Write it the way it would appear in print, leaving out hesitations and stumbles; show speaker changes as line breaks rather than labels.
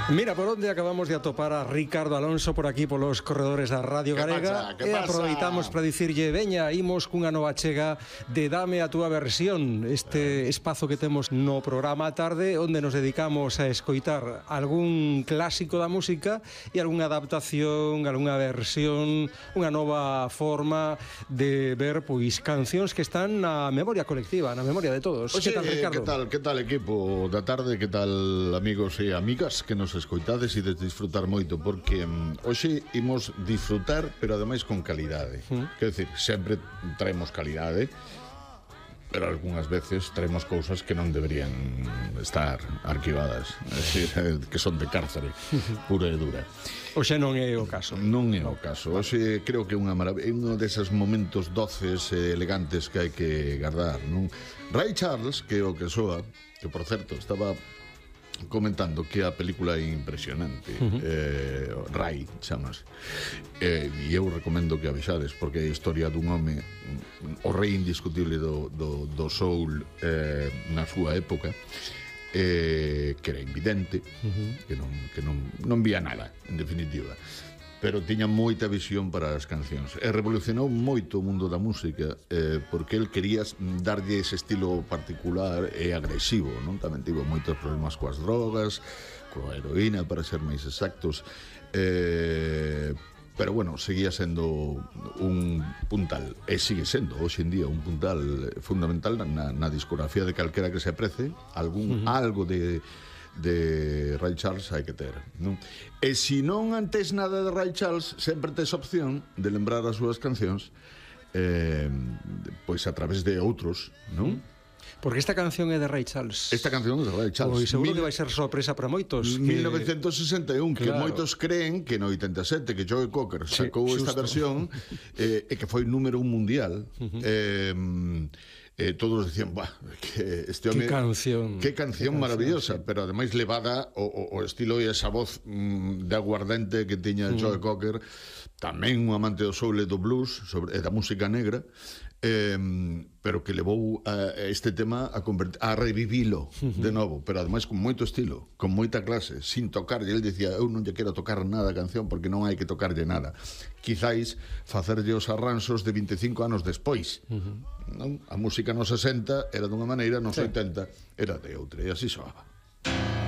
Mira por onde acabamos de atopar a Ricardo Alonso por aquí polos corredores da Radio Galega.
Que pasa?
Aproveitamos para dicirlle, veña, imos cunha nova chega de Dame a túa versión, este espazo que temos no programa a tarde, onde nos dedicamos a escoitar algún clásico da música e algunha adaptación, algunha versión, unha nova forma de ver pois cancións que están na memoria colectiva, na memoria de todos.
Oxe,
que tal, Ricardo?
Que tal equipo da tarde, que tal amigos e amigas que nos escoitades e de disfrutar moito, porque hoxe imos disfrutar, pero ademais con calidade. Quero dicir, sempre traemos calidade, pero algunhas veces traemos cousas que non deberían estar arquivadas, é dicir, que son de cárcere pura e dura.
Oxe non é o caso.
Non é o caso. Hoxe creo que é unha maravilla, un deses momentos doces e elegantes que hai que guardar, non? Ray Charles, que é o que soa, que por certo estaba comentando que a película é impresionante, Ray chamas, e eu recomendo que a vexades, porque é a historia dun home, o rei indiscutible do soul na súa época, que era invidente, que non vía nada, en definitiva, pero tiña moita visión para as cancións e revolucionou moito o mundo da música, porque el quería darlle ese estilo particular e agresivo, non? Tamén tivo moitos problemas coas drogas, coa heroína, para ser máis exactos, pero bueno, seguía sendo un puntal, e sigue sendo hoxe en día un puntal fundamental na discografía de calquera que se aprece, algo de Ray Charles hai que ter, non? E se non antes nada de Ray Charles, sempre tes opción de lembrar as súas cancións, pois a través de outros, non?
Porque esta canción é de Ray Charles.
Esta canción é de Ray Charles.
Pois seguro que vai ser sorpresa para moitos.
1961, que
claro,
moitos creen que no 87, que Joe Cocker sacou esta versión, e que foi número 1 mundial. Todos decían, que este home, que canción maravillosa, pero ademais levada o estilo e esa voz de aguardente que tiña Joe Cocker, tamén un amante do soul e do blues e da música negra, pero que levou este tema a revivilo de novo, pero ademais con moito estilo, con moita clase, sin tocarlle. El dicía, eu non lle quero tocar nada a canción porque non hai que tocarlle nada, quizáis facerlle os arranxos de 25 anos despois, non? A música nos 60 era dunha maneira, nos 80 era de outra, e así soaba.